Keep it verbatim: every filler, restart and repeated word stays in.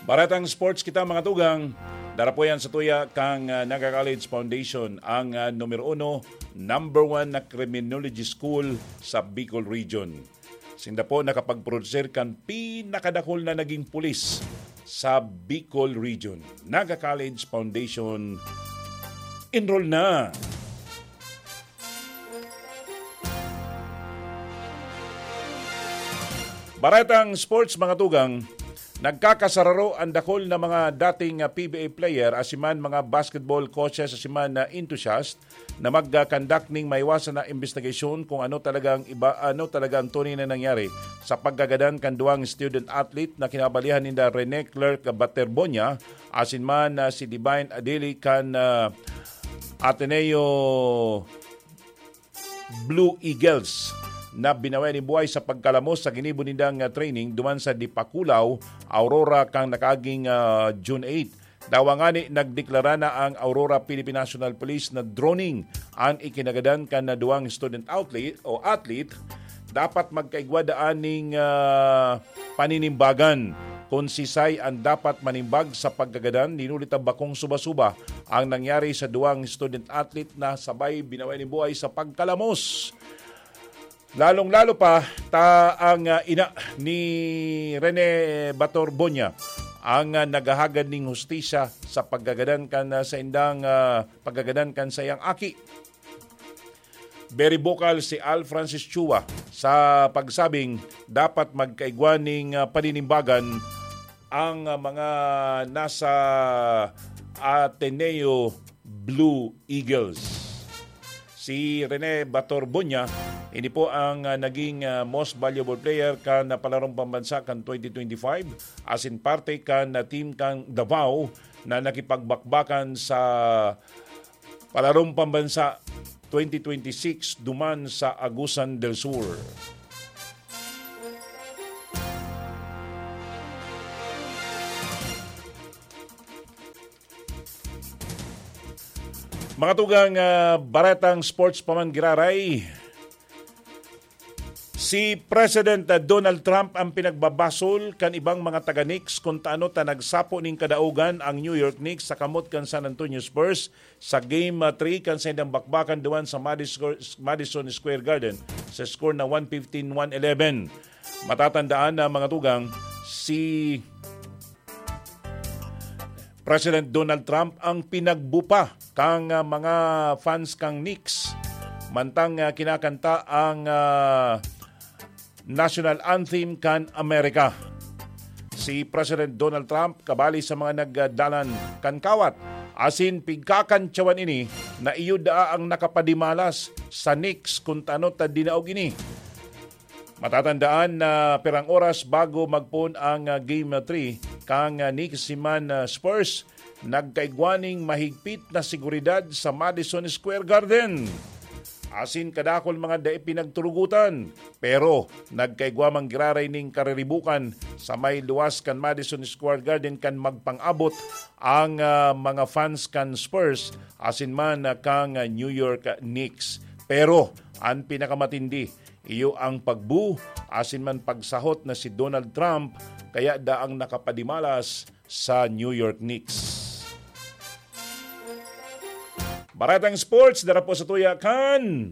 Paratang sports kita, mga tugang. Darapoyan sa tuya kang, ah, Naga College Foundation, ang, ah, numero uno, number one na criminology school sa Bicol Region. Sinda po nakapag-producer kan pinakadakol na naging pulis sa Bicol Region. Naga College Foundation, enroll na! Baretang sports, mga tugang, nagkakasararo ang dakol na mga dating, ah, P B A player, asin man mga basketball coaches, asin man na enthusiast na mag-conduct ning maiwasan na investigasyon kung ano talagang iba, ano talaga ang tunay na nangyari sa pagkagadan kan duwang student athlete na kinabalihan ninda Rene Clerk Baterbonia, asin man, ah, si Divine Adili kan, ah, Ateneo Blue Eagles na binawi ni buhay sa pagkalamos sa ginibo nindang, ah, training duman sa Dipakulaw, Aurora, kan nakaaging, ah, June eight. Dawa ngani, nagdeklara na ang Aurora Philippine National Police na droning ang ikinagadan kan na duwang student outlet o athlete. Dapat magkaigwa daan ning, ah, paninimbagan. Kun sisay ang dapat manimbag sa pagkagadan, dinuli ta bakong suba-suba ang nangyari sa duwang student athlete na sabay binawi ni buhay sa pagkalamos. Lalong-lalo pa ta ang, ah, ina ni Rene Bator Bonya ang, ah, naghahagad ning hustisya sa pagkagadan kan, ah, sa indang, ah, pagkagadan kan sayang aki. Very vocal si Al Francis Chua sa pagsabing dapat magkaigwa ning, ah, paninimbagan ang, ah, mga nasa Ateneo Blue Eagles. Si Rene Bator Bonya, ini po ang, ah, naging, ah, most valuable player kan, ah, palarong pambansa kan twenty twenty-five, asin parte kan, ah, team kan Davao na nakipagbakbakan sa palarong pambansa twenty twenty-six duman sa Agusan del Sur. Mga tugang, ah, baretang sports pa man giraray. Si President, ah, Donald Trump ang pinagbabasol kan ibang mga taga-Knicks kun taano ta nagsapo nin kadaogan ang New York Knicks sa kamot kan San Antonio Spurs sa Game, ah, three kan saindang bakbakan duman sa Madis-, Madison Square Garden sa score na one fifteen, one eleven. Matatandaan na, mga tugang, si President Donald Trump ang pinagbupa kan, ah, mga fans kan Knicks mantang, ah, kinakanta ang, ah, national anthem kan Amerika. Si President Donald Trump kabali sa mga nagdalan kan kawat asin pigkakantyawan ini na iyo daa ang nakapadimalas sa Knicks kun taano ta dinaog ini. Matatandaan na pirang oras bago magpoon ang, ah, Game three kan, ah, Knicks asin man, ah, Spurs, nagkaigwa nin mahigpit na seguridad sa Madison Square Garden. Asin kadakul mga dai pinagturugutan, pero nagkaigwa man giraray nin kariribukan sa may luwas kan Madison Square Garden kan magpang-abot ang, ah, mga fans kan Spurs asin man, ah, kan, ah, New York Knicks. Pero an pinakamatindi, iyo ang pagbu asin man pagsahot na si Donald Trump, kaya daang nakapadimalas sa New York Knicks. Baretang sports, dara po sa tuya kan